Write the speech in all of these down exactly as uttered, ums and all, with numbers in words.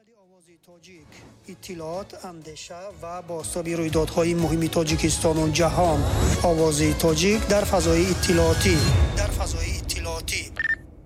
Овози Тоҷик, иттилоот, андеша ва бозтоби рӯйдодҳои муҳими Тоҷикистону ҷаҳон. Овози Тоҷик дар фазои иттилоотӣ, дар фазои иттилоотӣ.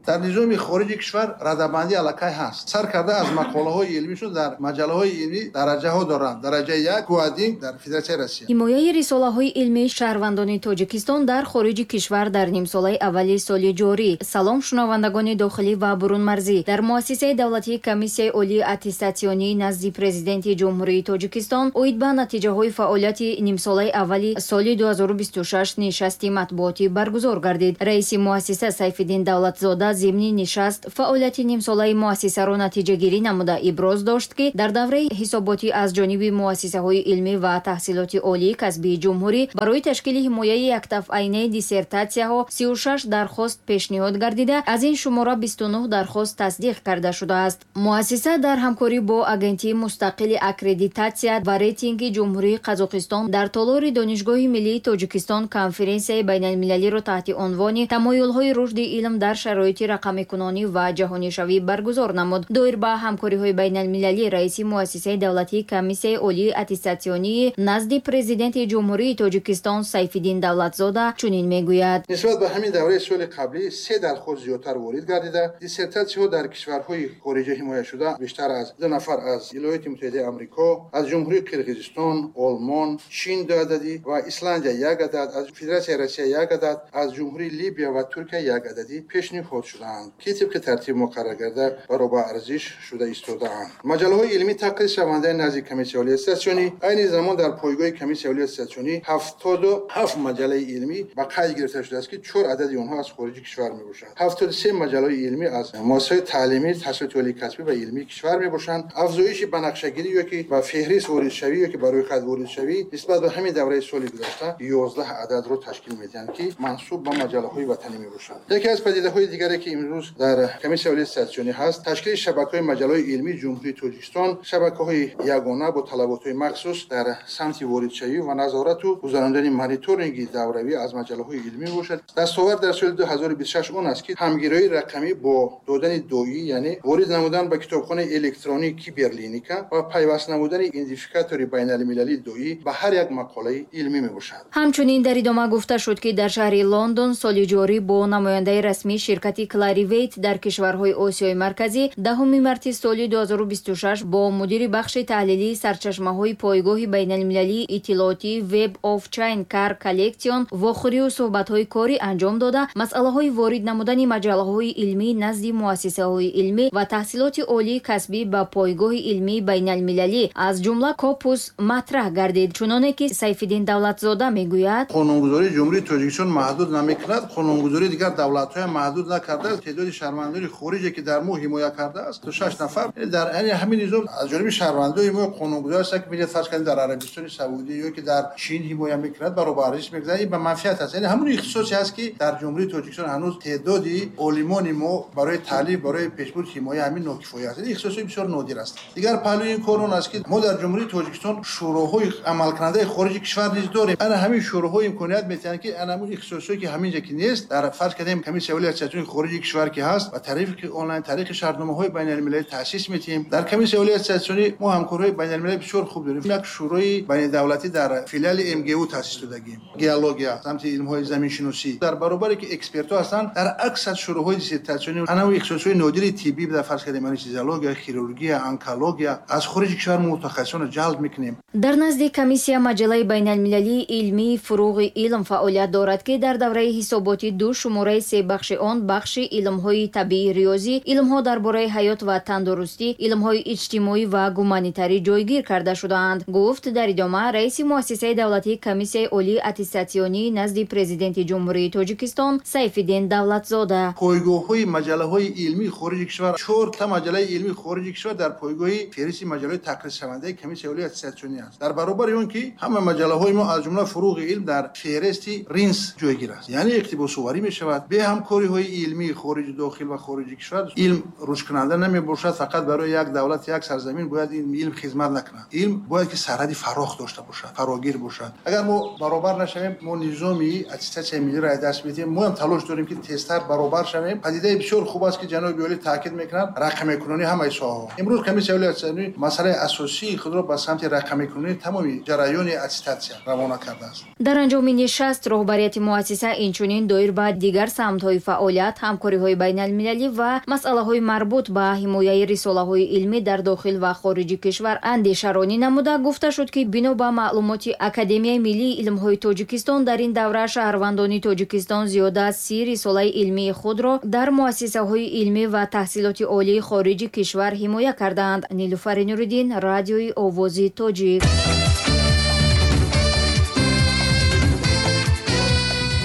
Дар низоми хориҷи кишвар радабандӣ аллакай ҳаст. Сар карда аз мақолаҳои илмишон дар маҷаллаҳои илмӣ дараҷаҳо доранд. Дараҷаи як Гуадин дар Федератсияи Россия. Ҳимояи рисолаҳои илмии шаҳрвандони Тоҷикистон дар хориҷи кишвар дар нимсолаи аввали соли ҷорӣ. Салом, шунавандагони дохилӣ ва бурунмарзӣ. Дар Муассисаи давлатии Комиссияи олии аттестатсионии назди Президенти Ҷумҳурии Тоҷикистон оид ба натиҷаҳои фаъолияти нимсолаи аввали соли ду ҳазору бисту шаш нишасти матбуотӣ баргузор гардид. Раиси муассиса Сайфиддин Давлатзода зимни нишаст фаъолияти нимсолаи муассисаро натиҷагирӣ намуда, иброз дошт, ки дар давраи ҳисоботӣ аз ҷониби муассисаҳои илмӣ ва таҳсилоти олии касбии ҷумҳурӣ барои ташкили ҳимояи яктафъайнаи диссертатсияҳо сию шаш дархост пешниҳод гардида, аз ин шумора бисту нӯҳ дархост тасдиқ карда шудааст. Муассиса дар ҳамкорӣ бо Агентии мустақили аккредитатсия ва рейтинги Ҷумҳурии Қазоқистон дар толори Донишгоҳи миллии Тоҷикистон конференсияи байналмилалиро таҳти унвони «Тамоюлҳои рушди илм дар шароити рақамикунонӣ ва ҷаҳонишавӣ» баргузор намуд. Доир ба ҳамкориҳои байналмилалӣ раиси Муассисаи давлатии Комиссияи олии аттестатсионии назди Президенти Ҷумҳурии Тоҷикистон Сайфиддин Давлатзода чунин мегӯяд: Нисбат ба ҳамин давраи соли қаблӣ се дархост зиёдтар ворид гардида, диссертатсияҳо дар кишварҳои хориҷа ҳимояшуда бештар аз ду нафар аз Иёлоти Муттаҳидаи Амрико, аз Ҷумҳурии Қирғизистон, Олмон, Чин ду ададӣ ва Исландия як адад, аз Федератсияи Россия як адад, аз Ҷумҳурии Либия ва Туркия як ададӣ пешниҳод шудаанд, ки тибқи тартиб муқаррар карда баробар арзиш шуда истодаанд. Маҷаллаҳои илмӣ тақризшавандаи назди Комиссияи олии аттестатсионӣ. Айни замон дар пойгоҳи Комиссияи олии аттестатсионӣ ҳафтоду ҳафт маҷаллаи илмӣ ба қайд гирифта шудааст, ки чор адади онҳо аз хориҷи кишвар мебошанд. Ҳафтоду се маҷаллаҳои илмӣ аз муассисаҳои таълимӣ, таҳсилоти олии касбӣ ва илмии кишвар мебошанд. Афзоиши банақшагирӣ ё ки ба феҳрист воридшавӣ ё ки ба рӯйхат воридшавӣ нисбат ба ҳамин давраи соли гузашта ёздаҳ ададро ташкил медиҳанд, ки мансуб ба маҷаллаҳои ватанӣ мебошанд. Яке аз падидаҳои дигаре, ки имрӯз дар Комиссияи олии аттестатсионӣ ҳаст, ташкили шабакаҳои маҷаллаҳои илмии Ҷумҳурии Тоҷикистон, шабакаҳои ягона бо талаботҳои махсус дар самти воридшавӣ ва назорату гузарондани мониторинги давравӣ аз маҷаллаҳои илмӣ мебошад. Дастовард дар соли ду ҳазору бисту шаш он аст, ки ҳамгироии рақамӣ бо додани доӣ, яъне ворид намудан ба китобхонаи электронии Киберлиника ва пайваст намудани идентификатори байналмилалии доӣ ба ҳар як мақолаи илмӣ мебошад. Ҳамчунин дар идома гуфта шуд, ки дар шаҳри Лондон соли ҷорӣ бо намояндаи расмии ширкати Кларивейт дар кишварҳои Осиёи Марказӣ даҳуми марти соли ду ҳазору бисту шаш бо мудири бахши таҳлилии сарчашмаҳои пойгоҳи байналмилалии иттилоотии Web of Science Core Collection вохӯрию суҳбатҳои корӣ анҷом дода, масъалаҳои ворид намудани маҷаллаҳои илмӣ назди муассисаҳои илмӣ ва таҳсилоти олии касбӣ ба пойгоҳи илмии байналмилалӣ, аз ҷумла Скопус, матраҳ гардид. Чуноне ки Сайфиддин Давлатзода мегӯяд: Қонунгузории Ҷумҳурии Тоҷикистон маҳдуд намекунад, қонунгузории дигар давлатҳоям маҳдуд накардааст. Теъдоди шаҳрвандони хориҷе, ки дар мо ҳимоя кардааст, то шаш нафар. Дар яъне ҳамин низом аз ҷониби шаҳрвандои мо қонунгузор аст, ки меҷад, фарз кардем, дар Арабистони Саудӣ ё ки дар Чин ҳимоя мекунад, баробар арзиш мегузарад. Ин ба манфиат аст, яъне ҳамон ихтисосе ҳаст, ки дар Ҷумҳурии Тоҷикистон ҳанӯз теъдоди олимони мо барои таълиф, барои пешбурди ҳимоя ҳамин нокифоя аст. Ин ихтисосҳои бисёр нодир аст. Дигар паҳлӯи ин кор он аст, ки мо дар Ҷумҳурии Тоҷикистон шӯроҳои амалкунандаи хориҷи кишвар низ дорем. Ана ҳамин шӯроҳо имконият метиҳанд, ки ана ҳамин ихтисосҳое, ки ҳаминҷа ки нест, дар, фарз кардем, Комиссияи олии аттестатсионии хориҷи кишвар ки ҳаст, ба тариқи онлайн, тариқи шартномаҳои байналмилалӣ таъсис метиҳем. Дар Комиссияи олии аттестатсионӣ мо ҳамкориҳои байналмилалӣ бисёр хуб дорем. Як шӯрои байнидавлатӣ дар филиали М Г У таъсис додагем, геология, самти илмҳои заминшиносӣ. Дар баробаре ки экспертҳо ҳастанд, дар аксар шӯроҳои диссертатсионӣ ана ихтисосҳои нодири тиббӣ, дар, фарз кардем, анестезиология, хирургия, онкология, аз хориҷи кишвар мутахассисонро ҷалб мекунем. Дар назди комиссия маҷаллаи байналмилалии илмии «Фуруғи илм» фаъолият дорад, ки дар давраи ҳисоботӣ ду шумораи се бахши он, бахши илмҳои табиӣ, риёзӣ, илмҳо дар бораи ҳаёт ва тандурустӣ, илмҳои иҷтимоӣ ва гуманитарӣ ҷойгир карда шудаанд, гуфт дар идома раиси Муассисаи давлатии Комиссияи олии аттестатсионии назди Президенти Ҷумҳурии Тоҷикистон Сайфиддин Давлатзода. Пойгоҳҳои маҷаллаҳои илмии хориҷи кишвар: чорта маҷаллаи илмии хориҷи кишвар дар пойгоҳи феҳристи маҷаллаҳои тақризшавандаи Комиссияи олии аттестатсионӣ аст. Дар баробари он ки ҳама маҷаллаҳои мо, аз ҷумла «Фуруғи илм», дар феҳристи РИНС ҷойгир аст, яъне иқтибосоварӣ мешавад. Бе ҳамкориҳои илмӣ Илмии хориҷи дохил ва хориҷи кишвар илм рушдкунанда намебошад. Фақат барои як давлат, як сарзамин бояд ин илм хизмат накунад. Илм бояд ки сарҳади фарох дошта бошад, фарогир бошад. Агар мо баробар нашавем, мо низоми аттестатсияи миллиро аз даст медиҳем. Мо ҳам талош дорем, ки тезтар баробар шавем. Падидаи бисёр хуб аст, ки ҷаноби олӣ таъкид мекунанд рақамикунонии ҳамаи соҳаҳо. Имрӯз Комиссияи олии аттестатсионӣ масъалаи асосии худро ба самти рақамикунонии тамоми ҷараёни аттестатсия равона кардааст. Дар анҷоми нишаст роҳбарияти муассиса инчунин доир ба дигар самтҳои фаъолият, ҳамкориҳои байналмилалӣ ва масъалаҳои марбут ба ҳимояи рисолаҳои илмӣ дар дохил ва хориҷи кишвар андешаронӣ намуда, гуфта шуд, ки бино ба маълумоти Академияи миллии илмҳои Тоҷикистон дар ин давра шаҳрвандони Тоҷикистон зиёда аз си рисолаи илмии худро дар муассисаҳои илмӣ ва таҳсилоти олии хориҷи кишвар ҳимоя кардаанд. Нилуфари Нуриддин, Радиои Овози Тоҷик.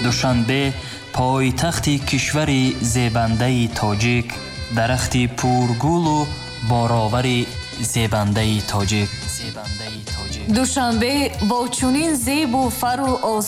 Душанбе, пойтахти кишвари зебандаи тоҷик, дарахти пургулу боровари зебандаи тоҷик. Душанбе бо чунин зебу фару озод